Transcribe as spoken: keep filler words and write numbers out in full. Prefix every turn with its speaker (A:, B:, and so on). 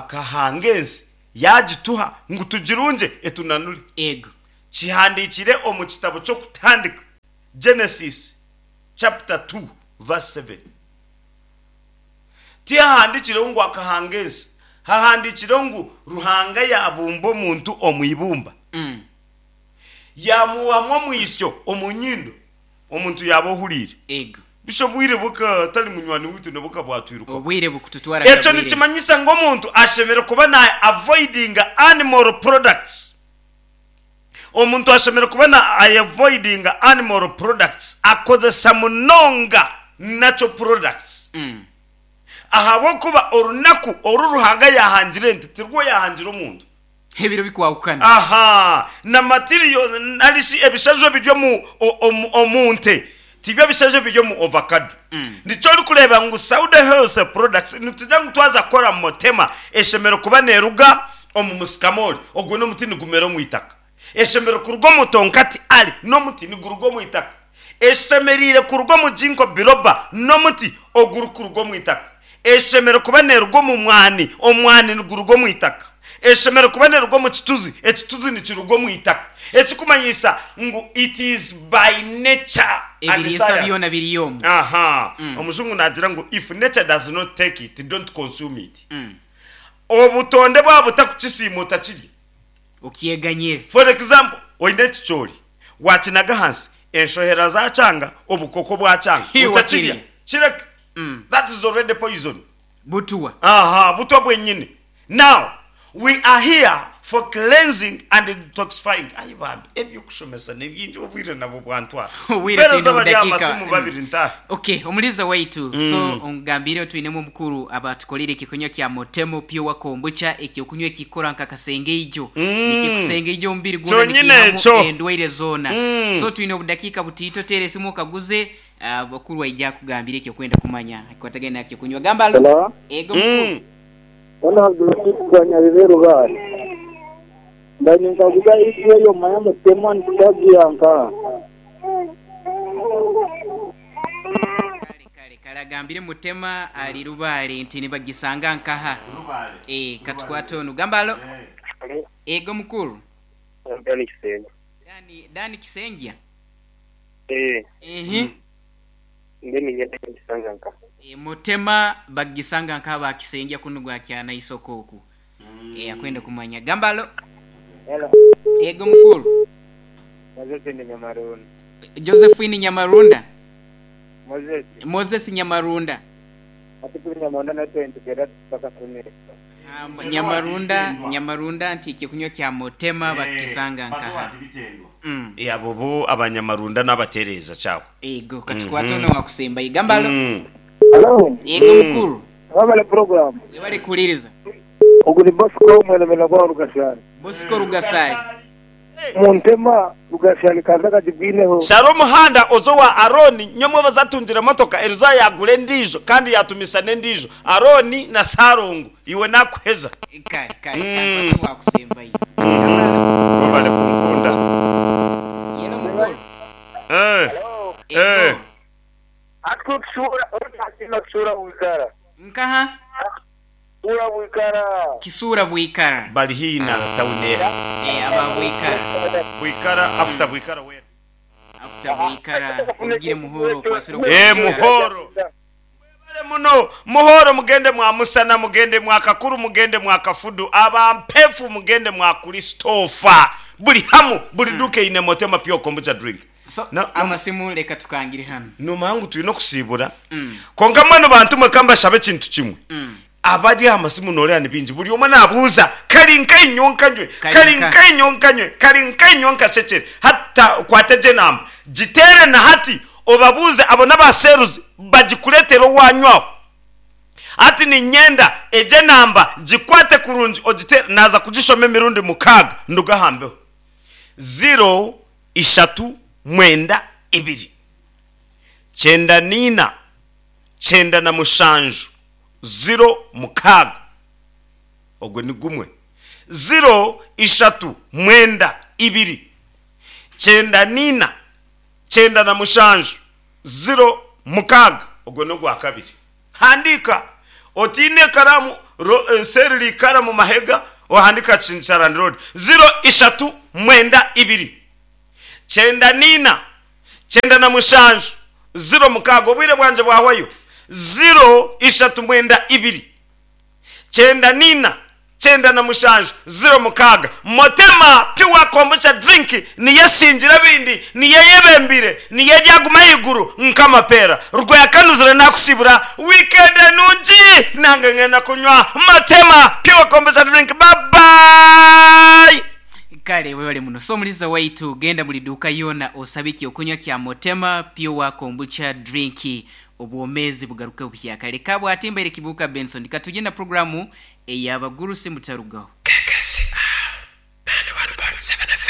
A: Akahanga ensi yagituha ngu tugirunge etunanure.
B: Ego.
A: Kihandiikire omu kitabo ky'Okutandika, Genesis chapter two verse seven. Tihahandiikireho ngu akahanga ensi, hahandiikireho ngu Ruhanga yaabumba omuntu omu ibumba,
B: Mm.
A: yaamuhamu omwisyo omu nyindo, omuntu yaaba ohuriire.
B: Ego.
A: Busha obwire bukatari munywani waitu nibwo bwatwirukaho.
B: Obwire bukututwara
A: Ekyo
B: kabwire.
A: nikimanyisa ngu omuntu ashemereire kuba na avoidinga animal products. Omuntu ashemereire kuba na avoidinga animal products, akozesa munonga natural products.
B: Mm.
A: Ahabw'okuba orunaku oru Ruhanga yahangire ente tirwo yahangire omuntu.
B: Ebiro bikwahukana.
A: Aha, na materials narishi ebishaju ebiri omu, omu, omu nte tibyo bishaju ebiri omu ovacado.
B: Mm.
A: Nikyo orikureeba ngu Sauda Health Products nitugira ngu twaza kukora motema eshemereire kuba neeruga omu musikamori, ogwo n'omuti nigumera omu itaka. Eshemereire kuruga omu tonkati ali n'omuti niguruga omu itaka. Eshemereire kuruga omu ginkgo biloba n'omuti ogurikuruga omu itaka. Eshemereire kuba neeruga omu mwani, omwani niguruga omu itaka. Eshemereire kuba neeruga omu kituzi, ekituzi nikiruga omu itaka. Ekikumanyisa ngu it is by nature and
B: Ebiriisa
A: science.
B: byona biri omu.
A: Aha,
B: Mm.
A: omujungu naagira ngu if nature does not take it, don't consume it.
B: Mm.
A: Obutonde bwaba butakukisiima otakirya.
B: Okyeganyire.
A: For example, oine ekicoori, wakinaga ahansi, enshohera zakyanga, obukoko bwakyanga,
B: Hi,
A: otakirya.
B: wakirya.
A: Kireke.
B: Mm.
A: That is already poison.
B: Butuwa.
A: Aha, butwa bwenyini. Now, we are here for cleansing and detoxifying. Ai bambi, ebyokushomesa ni bingi, obwire nabwo bwantwara.
B: Obwire
A: Mpeereza
B: twine
A: bari aha
B: obudakiika.
A: masimu babiri ntahe.
B: Okay, omuliza waitu. So ongambire twinemu omukuru abatukolire ekikunywa kya Motemo Pure Kombucha, ekyokunywa ekikora nka kasengeijo.
A: Mm.
B: Nikikusengeijo omubiri gwona,
A: Kyonyine
B: nikihamu
A: ekyo.
B: endwaire zoona.
A: Mm.
B: So twine obudakiika butiito, teera esimu okaguze, abakuru aija kugambira ekyokwenda kumanya ekikwatagaine nakyokunywa. Gamba alo.
C: Hello?
B: Ego mukuru.
A: Mm.
C: Ono Abdulrashid Nyabibe Rugari. Ndani nkaguza ijwe yo maya mutema ntagiyanka.
B: Kale kale kale agambire Mutema ali Rubale nti nibagisanga nkaha. Eh, katukwate onu. Gamba alo. Ego mukuru.
D: Dani Kisenge.
B: Dani Dani Kisengya.
D: Eh,
B: Ehe.
D: mbe ningenda kisanga nka.
B: E, Mutema bagisanga nka bakisengya kuno gwa kyana isoko oku. E, akwenda kumanya. Gambalo.
D: Hello.
B: Ego mukuru.
D: Moses ni Nyamarunda.
B: Josephine Nyamarunda.
D: Moses,
B: Moses Nyamarunda.
D: ati kuri Nyamarunda na twenty gera paka kumi.
B: Um, Nyamarunda, Nyamarunda nti ekyokunywa kya Motema bakisanga nkaha. Mm.
A: Eh, abo bo abanyamarunda n'abatereeza kyawe.
B: Ego katukwate ono wakusemba. Gambalo.
A: Mm.
C: Hello.
B: Ego mukuru.
C: Wabale program.
B: Webale kuliriza.
C: Ogu ni Bosco mwelemela gwa Rugashari.
B: Bosco Rugasari.
C: Muntema Rugashari kaza kajibwineho.
A: Shara omuhanda ozo wa Aroni nyomwe bazatungira emotoka eriza yagura endiijo kandi yatumisa n'endiijo. Aroni na Sarongo iwe nakuheza.
B: Kale kale
A: Mm.
B: kale wakusemba. Gambalo.
A: Webale kunkunda.
B: Yelo mukuru.
A: Eh. Eh.
B: Ego.
D: Ati kusura, ati kusura wikara.
B: Nkaha
D: Ura wikara.
B: Kisura Bwikara.
A: Bali hii na tawuni era.
B: Eh, aba Bwikara.
A: Bwikara after Bwikara where?
B: After Bwikara ogire Muhoro kwasira
A: Eh, Muhoro. Mwebale muno Muhoro, mugende mwa Musana, mugende mwa Kakuru, mugende mwa Kafudu, abampefu mugende mwa Kristofa. Buli hamu buli duka ine Motema Pure Kombucha drink.
B: So
A: Na- na-
B: amasimu leka tukangire hano.
A: Numangu tulina okusiibura.
B: Mm.
A: Konka mwenu bantu mwe kambashabe ekintu kimwe.
B: Mm.
A: Abari aha masimu noreeba ni bingi, buri omwe nabuuza kari nkainyo nkanywe,
B: Kari
A: kari
B: nka.
A: nkainyo nkanywe, kari nkainyo nkashekere, hata kwate gye namba gitere na hati obabuuze abo n'abaseruzi bagikuretere owanywaho. Ati ninyenda egye namba gikwate kurungi ogitere, naza kugishoma emirundi mukaaga ndugahambeho. Ziro ishatu mwenda ibiri kyenda niina kyenda na mushanju ziro mukaaga, ogwo ni gumwe. Ziro ishatu mwenda ibiri kyenda niina kyenda na mushanju ziro mukaaga, ogwo ni ogwa kabiri. Handika otiine ekaramu Ro- eh, seri likara mu mahega ohandika Chincharani Road. Ziro ishatu mwenda ibiri kyenda nina kyenda na mushanju ziro mukaaga. Obwire bwanje bwahwayo. Ziro ishatu mwenda ibiri kyenda nina kyenda na mushanju ziro mukaaga. Motema Pure Kombucha drink niyo esingira bindi, niyo eyebembire, niyo eryaguma ahaiguru nk'amapeera. Rwakanuzire nakusibura weekend nungi, nange ngenda kunywa Motema Pure Kombucha drink. Bye.
B: Kale, webale muno. So omuliza waitu, genda buli duuka yona osabe ekyokunywa kya Motema Pure Kombucha drink, obwomezi bugaruke buhyaka. Leka bwatimbaire Kibuuka Benson, katujye na programu eyabagurusi, mutarugaho.